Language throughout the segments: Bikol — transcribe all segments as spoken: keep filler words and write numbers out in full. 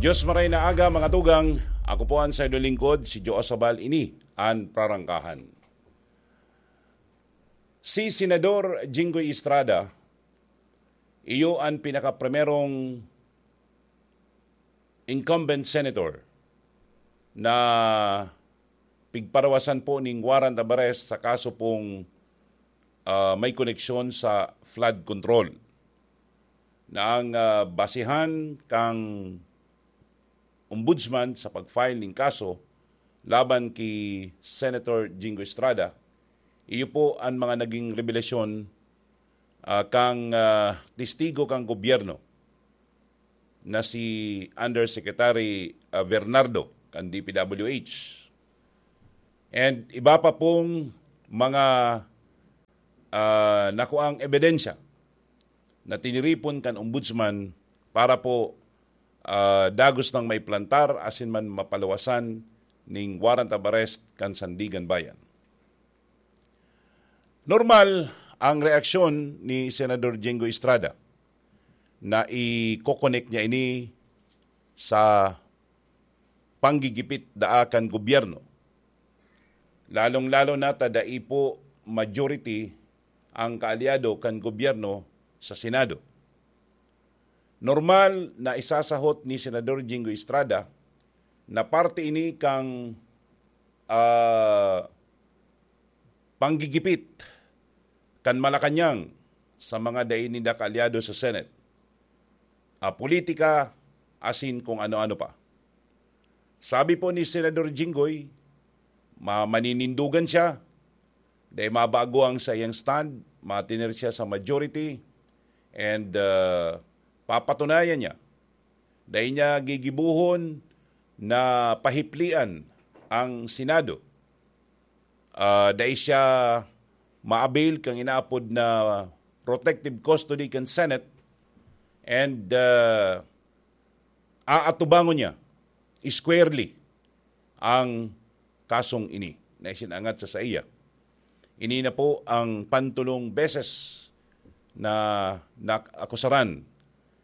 Diyos maray na aga, mga tugang. Ako po ang sayo lingkod, si Joe Sabal. Ini an prarangkahan. Si Senador Jinggoy Estrada, iyo an pinakaprimerong incumbent senator na pigparawasan po ning warrant of arrest sa kaso pong, ah, may koneksyon sa flood control. Na ang, ah, basihan kang ombudsman sa pag-file ning kaso laban ki Senator Jinggoy Estrada, iyo po an mga naging rebelasyon, ah, kang, ah, testigo kang gobyerno na si Undersecretary, ah, Bernardo kan D P W H. And iba pa pong mga, ah, nakuang ebidensya na tiniripon kan ombudsman para po, ah, dagos nang maiplantar asin man mapaluwasan ning warrant of arrest kan Sandiganbayan. Normal ang reaksyon ni Senador Jinggoy Estrada na i-coconnect niya ini sa panggigipit daa kan gobyerno. Lalong-lalo na ta dai po majority ang kaalyado kan gobyerno sa Senado. Normal na isasahot ni Senador Jinggoy Estrada na parte ini kang, ah, panggigipit kan Malacañang sa mga dai ninda kaalyado sa Senate, ah, politika, asin kung ano-ano pa. Sabi po ni Senador Jinggoy, ma-, maninindugan siya, dai mabago ang sa iyang stand, matiner siya sa majority, and, ah, papatunayan niya. Dai niya gigibuhon na pahiplian ang Senado. Ah, dai siya ma-avail kang inaapod na protective custody kan Senate, and, ah, aatubangon niya squarely ang kasong ini na isinangat sa saiya. Ini na po ang pantulong beses na naakusaran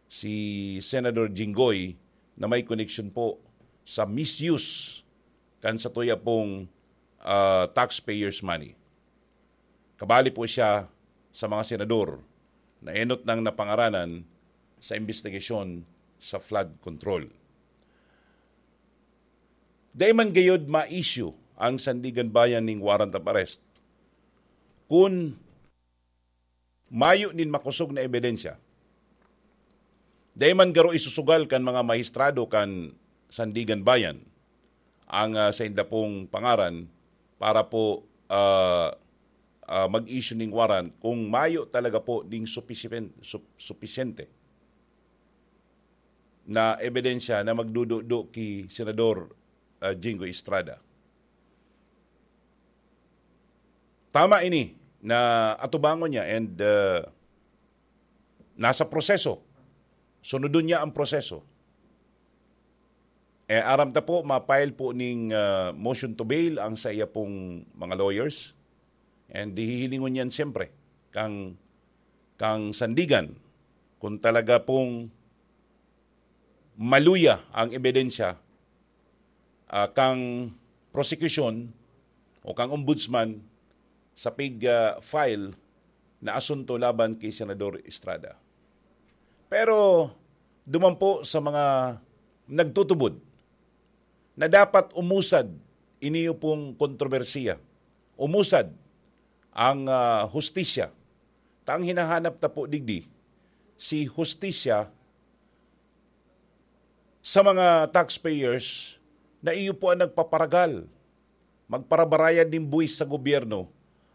si Senador Jinggoy na may koneksyon po sa misuse kan satuya pong, ah, taxpayers' money. Kabali po siya sa mga senador na enot nang napangaranan sa imbestigasyon sa flood control. Dai man gayod ma-issue ang Sandiganbayan ning warrant of arrest kun mayo nin makosog na ebidensya. Dai man garo isusugal kan mga mahistrado kan Sandiganbayan ang, ah, sainda pong pangaran para po, ah, ah, mag-issue ning warrant kung mayo talaga po ning supisyen-, sup-, supisyente na ebidensya na magdududo ki Senador, ah, Jinggoy Estrada. Tama ini na atubangon niya and, ah, nasa proseso. Sunodon niya ang proseso. Eh, aram ta po, ma-file po ning, ah, motion to bail ang sa iya pong mga lawyers. And hihilingon niyan siyempre kang, kang Sandigan kung talaga pong maluya ang ebidensya, ah, kang prosekusyon o kang ombudsman sa pig, ah, file na asunto laban ki Senador Estrada. Pero duman po sa mga nagtutubod na dapat umusad ini pong kontrobersiya, umusad ang, ah, hustisya. Ta ang hinahanap ta po digdi, si hustisya sa mga taxpayers na iyo po ang nagpaparagal, magparabarayad nin buwis sa gobyerno,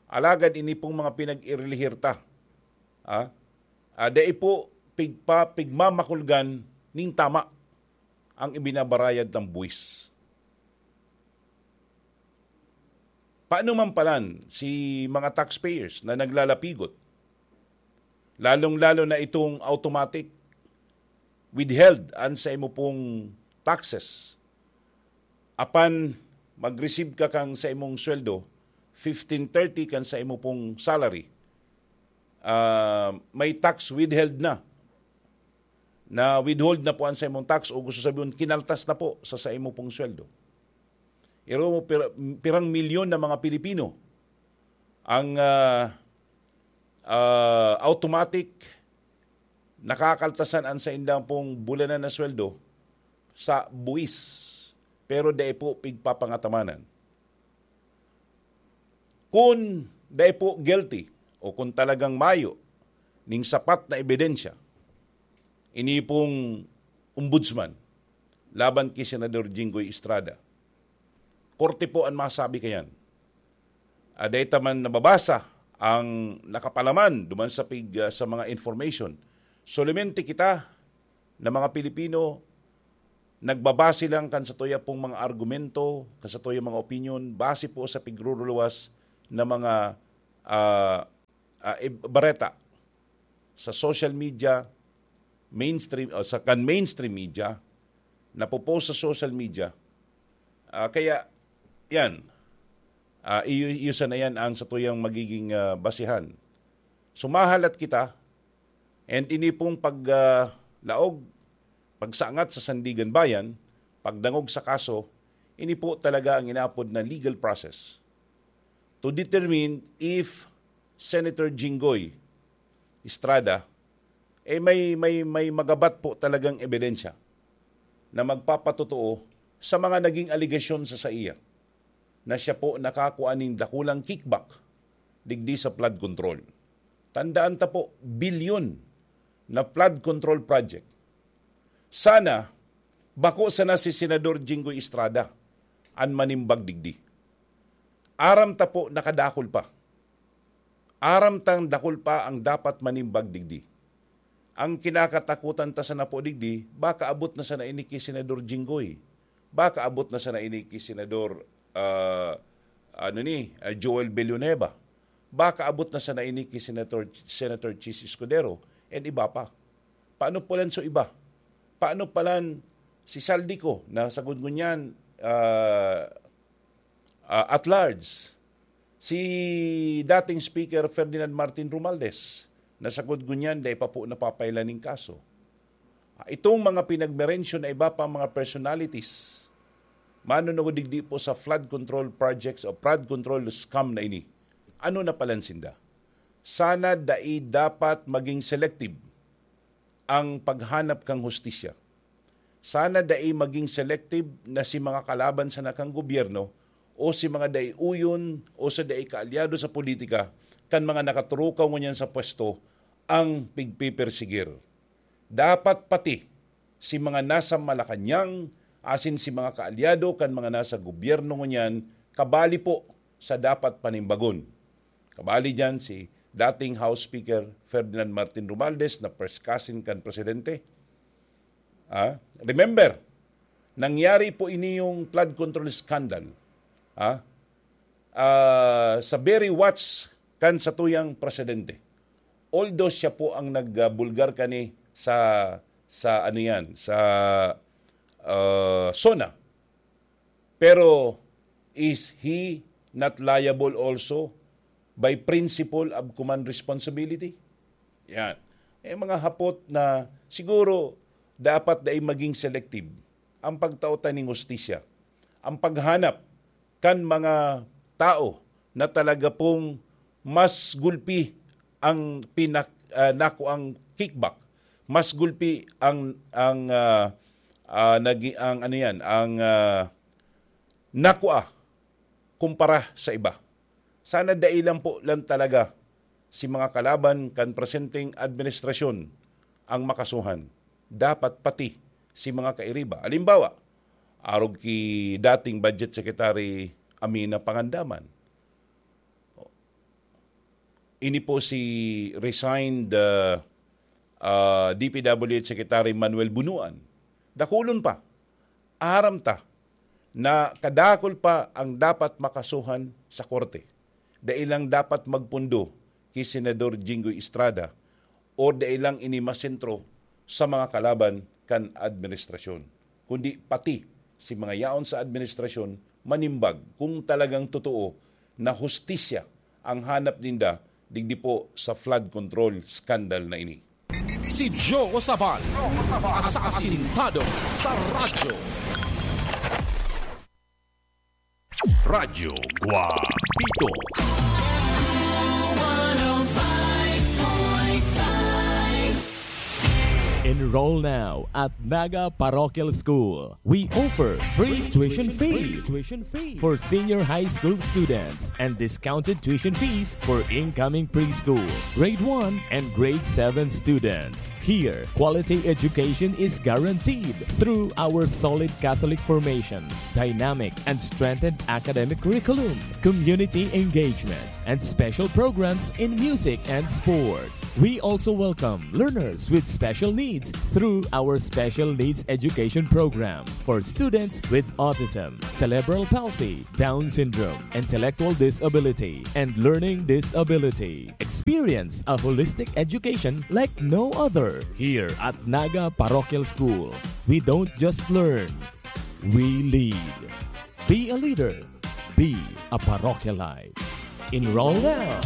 alagad ini pong mga pinag-irilihir ta, ah, ah, dai po pigpa-, pigmamakulgan nin tama ang ibinabarayad ng buwis. Paano man palan si mga taxpayers na naglalapigot? Lalong-lalo na itong automatic withheld an sa imo pong taxes. Apan mag-receive ka kang sa imong sweldo, fifteen thirty kan sa imo pong salary, ah, may tax withheld na. na-withhold na po ang saimong tax, o gusto sabihin, kinaltas na po sa saimo pong sweldo. Iro mo, pir-, pirang milyon na mga Pilipino ang, ah, ah, automatic nakakaltasan ang saindang pong bulanan na sweldo sa buwis, pero dai po pigpapangatamanan. Kun dai po guilty o kun talagang mayo ning sapat na ebidensya, ini pong ombudsman laban ki Senador Jinggoy Estrada, korte po an masabi kayan. Ah, dai ta man nababasa ang nakapalaman duman sa pig-, ah, sa mga information. Solamente kita na mga Pilipino, nagbabase lang kan satuya pong mga argumento, kan satuya mga opinion, base po sa pigruruluwas na mga, ah, ah, ib-, bareta sa social media, mainstream, o sa kan mainstream media, napopost sa social media. Ah, kaya, yan, ah, iyo, iyo sana yan ang satuyang magiging, ah, basihan. Sumahalat kita, and ini pong pag, ah, laog, pagsangat sa Sandigan Bayan, pagdangog sa kaso, ini po talaga ang inaapod na legal process to determine if Senator Jinggoy Estrada, eh, may, may, may magabat po talagang ebidensya na magpapatotoo sa mga naging alegasyon sa saiya na siya po nakakua nin dakulang kickback digdi sa flood control. Tandaan ta po, bilyon na flood control project. Sana, bako sana si Senador Jinggoy Estrada an manimbag digdi. Aram ta po, nakadakul pa. Aram tang dakul pa ang dapat manimbag digdi. Ang kinakatakutan ta sana po digdi, baka abot na sana ini ki Senador Jinggoy. Baka abot na sana ini ki Senador, ah, ano ni, ah, Joel Villanueva. Baka abot na sana ini ki Senator, Senator Chiz Escudero and iba pa. Paano palan so iba? Paano palan si Zaldy Co na sagkod ngunyan, ah, ah, at large? Si dating Speaker Ferdinand Martin Romualdez, na sagkod ngunyan dai pa po napapailan nin kaso. Ah, itong mga pinagmerensyon na iba pang mga personalities, manunungod digdi po sa flood control projects o flood control scam na ini, ano na palan sinda? Sana dai dapat maging selective ang paghanap kan hustisya. Sana dai maging selective na si mga kalaban sana kan gobyerno o si mga dai-uyon o sa dai kaalyado sa politika kan mga nakaturukaw ngunyan sa pwesto ang pigpipersigir. Dapat pati si mga nasa Malacañang asin si mga kaalyado kan mga nasa gobyerno ngunyan kabali po sa dapat panimbagon. Kabali diyan si dating House Speaker Ferdinand Martin Romualdez na first cousin kan presidente. Ah, remember, nangyari po ini yung flood control scandal. Ah, ah, sa very watch kan satuyang presidente. Although siya po ang nagbulgar kani sa, sa ano yan, sa, ah, SONA. Pero is he not liable also by principle of command responsibility? Yan. Eh, mga hapot na siguro dapat dai maging selective ang pagtao ta ning hustisya, ang paghanap kan mga tao na talaga pong mas gulpi ang pinak-, ah, nakuang kickback, mas gulpi ang, ang, ah, ah, nagi-, ang ano yan, ang, ah, nakua kumpara sa iba. Sana dai lang po lang talaga si mga kalaban kan presenteng administrasyon ang makasuhan. Dapat pati si mga kairiba. Halimbawa, arog ki dating Budget Secretary Amina Pangandaman. Ini po si resigned, ah, ah, D P W H Secretary Manuel Bunuan. Dakulon pa. Aram ta na kadakul pa ang dapat makasuhan sa korte. Dai lang dapat magpundo ki Senador Jinggoy Estrada o dai lang ini masentro sa mga kalaban kan administrasyon, kundi pati si mga yaon sa administrasyon manimbag kung talagang totoo na hustisya ang hanap ninda digdi po sa flood control scandal na ini. Si Joe Sabal, asasintado sa radyo. Radyo Guapito. Enroll now at Naga Parochial School. We offer free tuition fee for senior high school students and discounted tuition fees for incoming preschool, grade one, and grade seven students. Here, quality education is guaranteed through our solid Catholic formation, dynamic and strengthened academic curriculum, community engagement, and special programs in music and sports. We also welcome learners with special needs through our Special Needs Education Program for students with autism, cerebral palsy, Down syndrome, intellectual disability, and learning disability. Experience a holistic education like no other. Here at Naga Parochial School, we don't just learn, we lead. Be a leader. Be a parochialite. Enroll now.